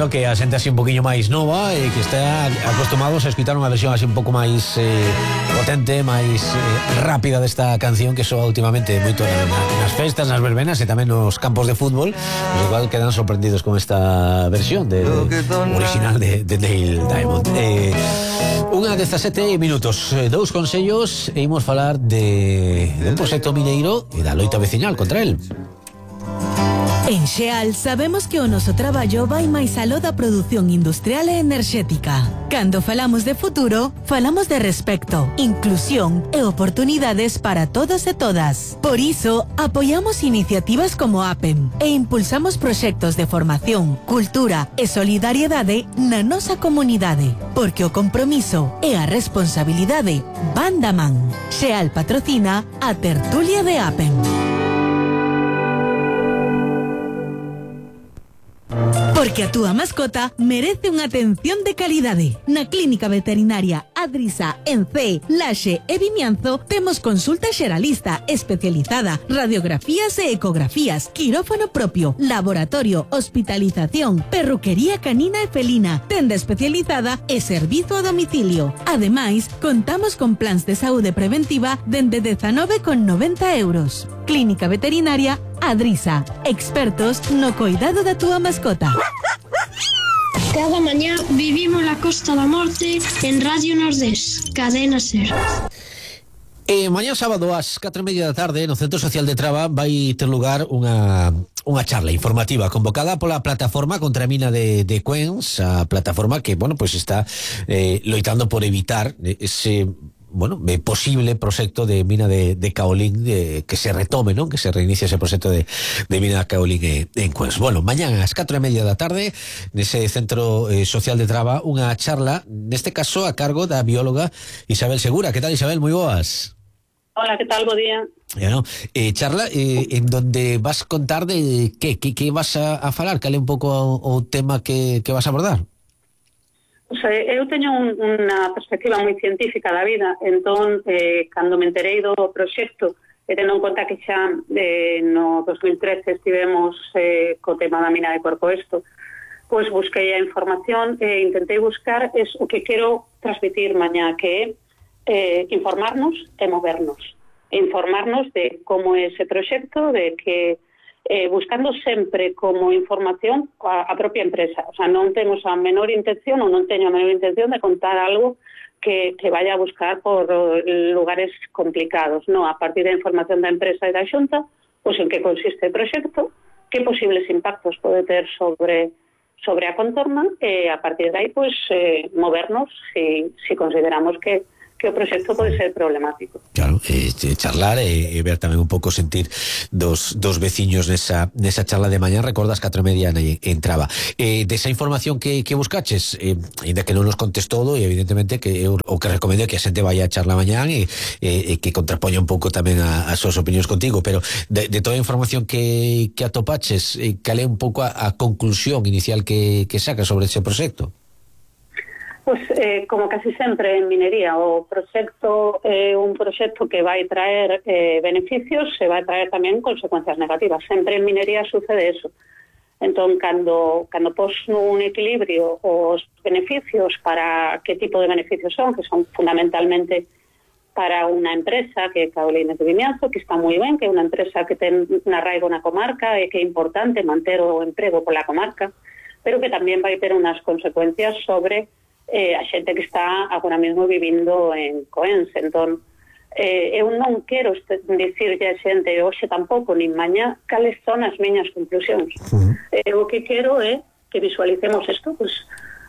Lembrando que a xente así un poquinho máis nova e que está acostumados a escutar unha versión así un pouco máis potente, máis rápida desta canción que soa últimamente moito nas festas, nas verbenas e tamén nos campos de fútbol, os igual quedan sorprendidos con esta versión original de Neil Diamond. Unha 17 minutos, dous consellos e imos falar de un proxecto mineiro e da loita veciñal contra el. En Xeal sabemos que o noso traballo vai máis aló da produción industrial e enerxética. Cando falamos de futuro, falamos de respecto, inclusión e oportunidades para todos e todas. Por iso, apoiamos iniciativas como APEM e impulsamos proxectos de formación, cultura e solidariedade na nosa comunidade. Porque o compromiso e a responsabilidade van da man. Xeal patrocina a tertulia de APEM. Porque a túa mascota merece unha atención de calidade. Na Clínica Veterinaria Adrisa en Cee, Laxe e Vimianzo temos consulta xeralista especializada, radiografías e ecografías, quirófano propio, laboratorio, hospitalización, perruquería canina e felina, tenda especializada e servizo a domicilio. Ademais, contamos con plans de saúde preventiva dende 19,90 €. Clínica Veterinaria Adrisa, expertos no cuidado da túa mascota. Cada mañá vivimos la Costa da Morte en Radio Nordés, Cadena Ser. Mañá sábado ás 4:30 da tarde no Centro Social de Traba vai ter lugar unha charla informativa convocada pola plataforma contra a mina de Cuens, a plataforma que, bueno, pues está loitando por evitar ese posible proxecto de mina de caolín que se retome, non? Que se reinicie ese proxecto de mina de caolín en Cuens. Bueno, mañán ás 4:30 da tarde nese Centro Social de Traba unha charla, neste caso a cargo da bióloga Isabel Segura. Que tal, Isabel? Moi boas. Hola, que tal? Bo día. Charla en donde vas contar de que vas a falar, cal é un pouco o tema que vas a abordar? Eu teño unha perspectiva moi científica da vida, entón, cando me enterei do proxecto, tendo en conta que xa no 2013 estivemos co tema da mina de Corcoesto, pois busquei a información e intentei buscar o que quero transmitir mañá, que é informarnos e movernos. Informarnos de como é ese proxecto, de que buscando sempre como información a propia empresa. O sea, non temos a menor intención ou non teño a menor intención de contar algo que vaya a buscar por lugares complicados, no, a partir da información da empresa e da Xunta, pois en que consiste o proxecto, que posibles impactos pode ter sobre a contorna e a partir de aí pois movernos si consideramos que o proxecto pode ser problemático. Claro, charlar e ver tamén un pouco sentir dos veciños nesa charla de mañá. Recordas 4:30 en Traba. Desa información que buscaches, ainda que non nos contes todo, e evidentemente que eu o que recomendo é que a xente vaya a charla mañán e que contrapoña un pouco tamén as súas opinións contigo, pero de toda a información que atopaches, cal é un pouco a conclusión inicial que sacas sobre ese proxecto? Pois, como casi sempre en minería, o proxecto é un proxecto que vai traer beneficios e vai traer tamén consecuencias negativas. Sempre en minería sucede eso. Entón, cando pos nun equilibrio os beneficios, para que tipo de beneficios son, que son fundamentalmente para unha empresa que é Caolines de Vimianzo, que está moi ben, que é unha empresa que ten un arraigo na comarca e que é importante manter o emprego pola comarca, pero que tamén vai ter unhas consecuencias sobre a xente que está agora mesmo vivindo en Coens. Entón, eu non quero dicirlle a xente hoxe tampouco, nin mañá, cales son as miñas conclusións. O que quero é que visualicemos isto, pois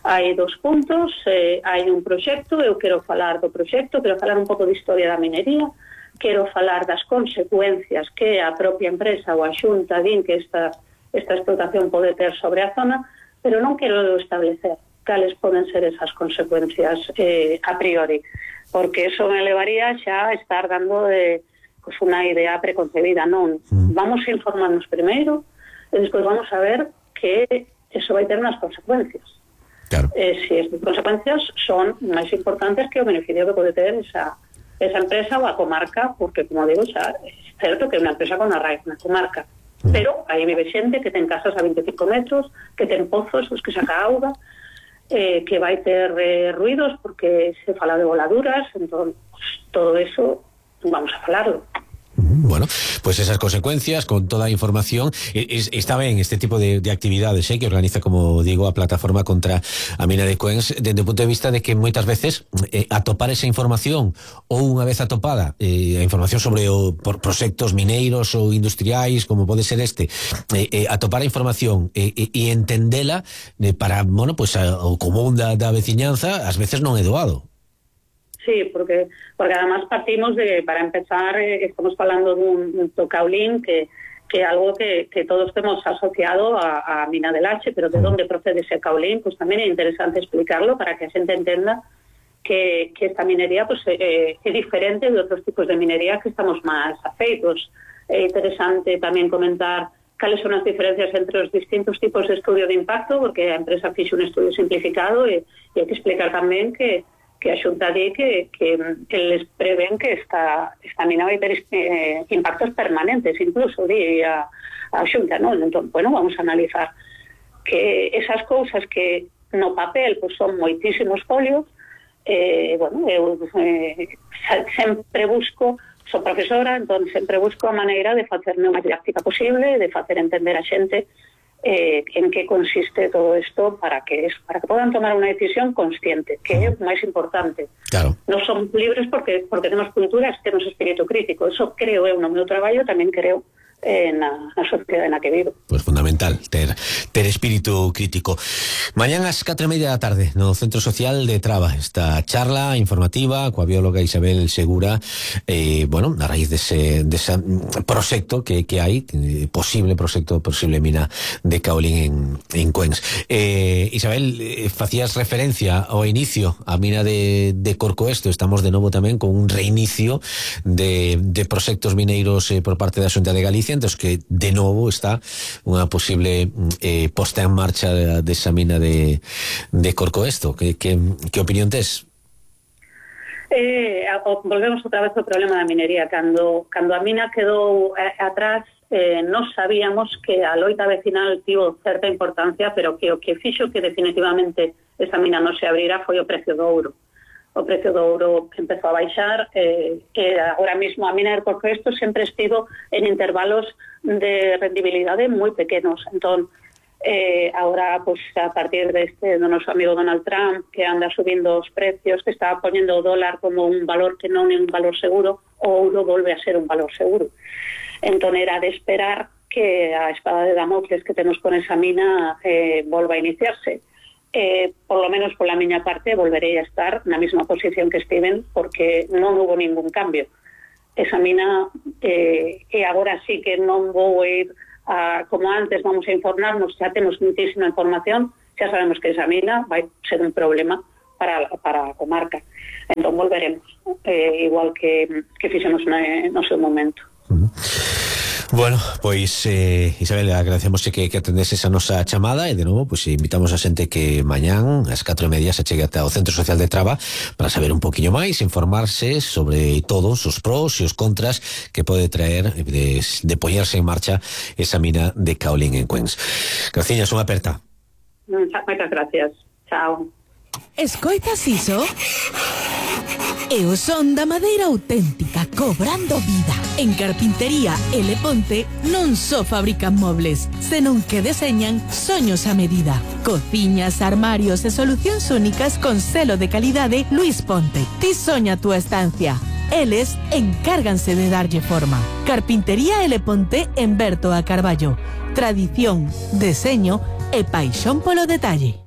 hai 2 puntos, hai un proxecto, eu quero falar do proxecto, quero falar un pouco de historia da minería, quero falar das consecuencias que a propia empresa ou a Xunta din que esta explotación pode ter sobre a zona, pero non quero establecer cales poden ser esas consecuencias a priori, porque eso me levaría xa a estar dando unha idea preconcebida. Non, vamos a informarnos primeiro e despois vamos a ver que eso vai ter unhas consecuencias. Claro. Si esas consecuencias son máis importantes que o beneficio que pode ter esa empresa ou a comarca, porque, como digo, xa é certo que é unha empresa con arraigo na comarca. Pero aí vive xente que ten casas a 25 metros, que ten pozos os que saca auga, que vai ter ruidos porque se fala de voladuras, entón todo eso vamos a falarlo. Bueno, pues esas consecuencias con toda a información. Está ben este tipo de actividades que organiza, como digo, a plataforma contra a mina de Cuens, desde o punto de vista de que moitas veces atopar esa información, ou unha vez atopada a información sobre por proxectos mineiros ou industriais, como pode ser atopar a información e entendela para, bueno, pues o común da veciñanza, ás veces non é doado. Sí, porque además partimos de, para empezar, estamos hablando de un tocaolín que algo que todos hemos asociado a mina del H, pero de dónde procede ese caolín, pues también es interesante explicarlo para que la gente entienda que esta minería pues es diferente de otros tipos de minería que estamos más afeitos. Es interesante también comentar cuáles son las diferencias entre los distintos tipos de estudio de impacto, porque la empresa hizo un estudio simplificado y hay que explicar también que a Xunta di que les prevén que esta mina vai ter impactos permanentes, incluso di a Xunta, ¿no? Entón, bueno, vamos a analizar que esas cousas que no papel pues son moitísimos folios, bueno, eu sempre busco, sou profesora, entón sempre busco a maneira de facerme o máis didáctica posible, de facer entender a xente en qué consiste todo esto para que puedan tomar una decisión consciente, que es más importante. Claro. No son libres porque tenemos culturas, tenemos espíritu crítico. Eso creo eu no meu traballo, tamén creo na sociedade na que vivo. Pues fundamental ter espírito crítico. Mañán ás 4:30 da tarde no Centro Social de Traba, esta charla informativa coa bióloga Isabel Segura, bueno, a raíz dese proxecto que hai, posible mina de caolín en Cuens. Isabel, facías referencia ao inicio a mina de Corcoesto. Estamos de novo tamén con un reinicio de proxectos mineiros por parte da Xunta de Galicia, entonces que de novo está unha posible posta en marcha desa mina de Corcoesto. Que opinión tes? Volvemos outra vez ao problema da minería. Cando a mina quedou atrás, non sabíamos que a loita vecinal tivo certa importancia, pero que o que fixo que definitivamente esa mina non se abrira foi o precio do ouro. O precio do ouro empezou a baixar, que agora mismo a mina de Corcoesto sempre estivo en intervalos de rendibilidade moi pequenos. Entón, ahora, pues, a partir do noso amigo Donald Trump, que anda subindo os precios, que está poñendo o dólar como un valor que non é un valor seguro, o ouro volve a ser un valor seguro. Entón, era de esperar que a espada de Damocles que temos con esa mina volva a iniciarse. Por lo menos por la miña parte volverei a estar na mesma posición que estiven, porque non hubo ningún cambio. Esa mina agora sí que non vou ir como antes, vamos a informarnos, xa temos muitísima información, xa sabemos que esa mina vai ser un problema para a comarca. Entón volveremos, igual que fixemos no seu momento. Bueno, pois Isabel, agradecemos que atendeses a nosa chamada e de novo pois invitamos a xente que mañán ás 4:30 se chegue ata o Centro Social de Traba para saber un poquinho máis, informarse sobre todos os pros e os contras que pode traer de poñerse en marcha esa mina de caolín en Cuens. Graciñas, unha aperta. Moitas gracias. Chao. Escoitas iso? É o son da madeira auténtica cobrando vida. En Carpintería L. Ponte non só fabrican mobles, senón que deseñan soños a medida. Cociñas, armarios e solucións únicas con selo de calidade Luis Ponte. Ti soña a túa estancia. Eles encárganse de darlle forma. Carpintería L. Ponte en Berto a Carballo. Tradición, deseño e paixón polo detalle.